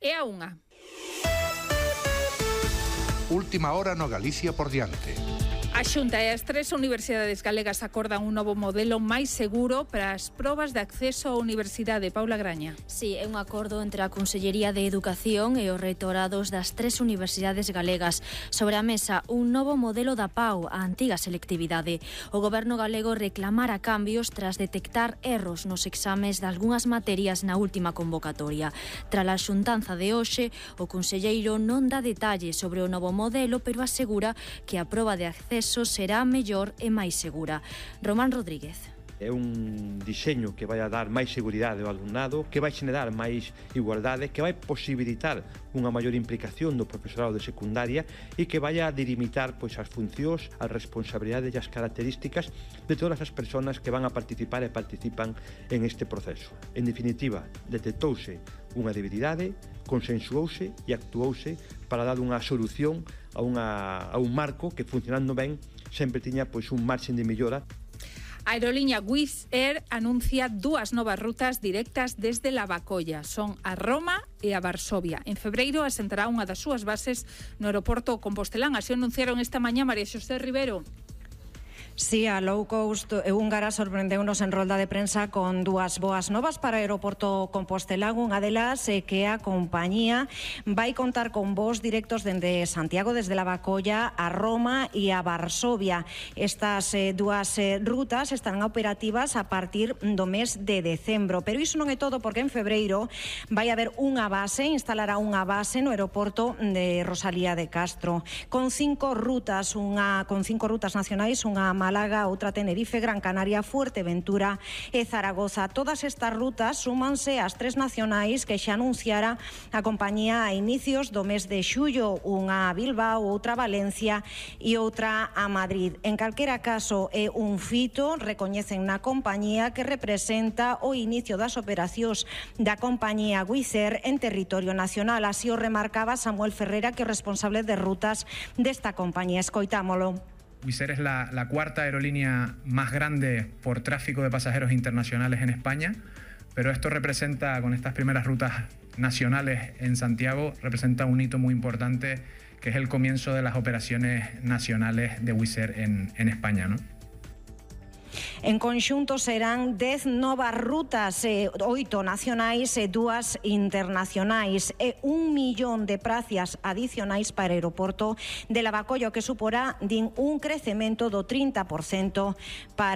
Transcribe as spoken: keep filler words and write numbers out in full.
E a unha. Última hora no Galicia por diante. A Xunta e as tres universidades galegas acordan un novo modelo máis seguro para as probas de acceso á universidade. Paula Graña. Sí, é un acordo entre a Consellería de Educación e os reitorados das tres universidades galegas. Sobre a mesa, un novo modelo da P A U, a antiga selectividade. O goberno galego reclamara cambios tras detectar erros nos exames de algunhas materias na última convocatoria. Tras a xuntanza de hoxe, o conselleiro non dá detalles sobre o novo modelo, pero asegura que a proba de acceso será mellor e máis segura. Román Rodríguez. É un diseño que vai a dar máis seguridade ao alumnado, que vai xenerar máis igualdade, que vai posibilitar unha maior implicación do profesorado de secundaria e que vai a delimitar pois, as funcións, as responsabilidades e as características de todas as persoas que van a participar e participan en este proceso. En definitiva, detectouse unha debilidade, consensuouse e actuouse para dar unha solución a, unha, a un marco que, funcionando ben, sempre tiña pois, un marxen de mellora. A aerolínea Wizz Air anuncia dúas novas rutas directas desde Lavacolla. Son a Roma e a Varsovia. En febreiro asentará unha das súas bases no aeroporto Compostelán. Así anunciaron esta mañá María Xosé Rivero. Sí, a low cost húngara sorprendeunos en rolda de prensa con dúas boas novas para o aeroporto Compostelán. Unha delas é que a compañía vai contar con voos directos dende Santiago, desde Lavacolla a Roma e a Varsovia. Estas eh, dúas eh, rutas estarán operativas a partir do mes de decembro, pero iso non é todo, porque en febreiro vai haber unha base, instalará unha base no aeroporto de Rosalía de Castro con cinco rutas, unha con cinco rutas nacionais, unha Málaga, outra Tenerife, Gran Canaria, Fuerteventura e Zaragoza. Todas estas rutas súmanse ás tres nacionais que xa anunciara a compañía a inicios do mes de xullo, unha a Bilbao, outra a Valencia e outra a Madrid. En calquera caso, é un fito, recoñecen na compañía, que representa o inicio das operacións da compañía Wizz Air en territorio nacional. Así o remarcaba Samuel Ferreira, que é o responsable de rutas desta compañía. Escoitámolo. Wizz Air es la, la cuarta aerolínea más grande por tráfico de pasajeros internacionales en España, pero esto representa, con estas primeras rutas nacionales en Santiago, representa un hito muy importante, que es el comienzo de las operaciones nacionales de Wizz Air en, en España, ¿no? En conxunto serán dez novas rutas, eh, oito nacionais e dúas internacionais, e un millón de prazas adicionais para o aeroporto de Lavacolla, que suporá din un crecemento do trinta por cento para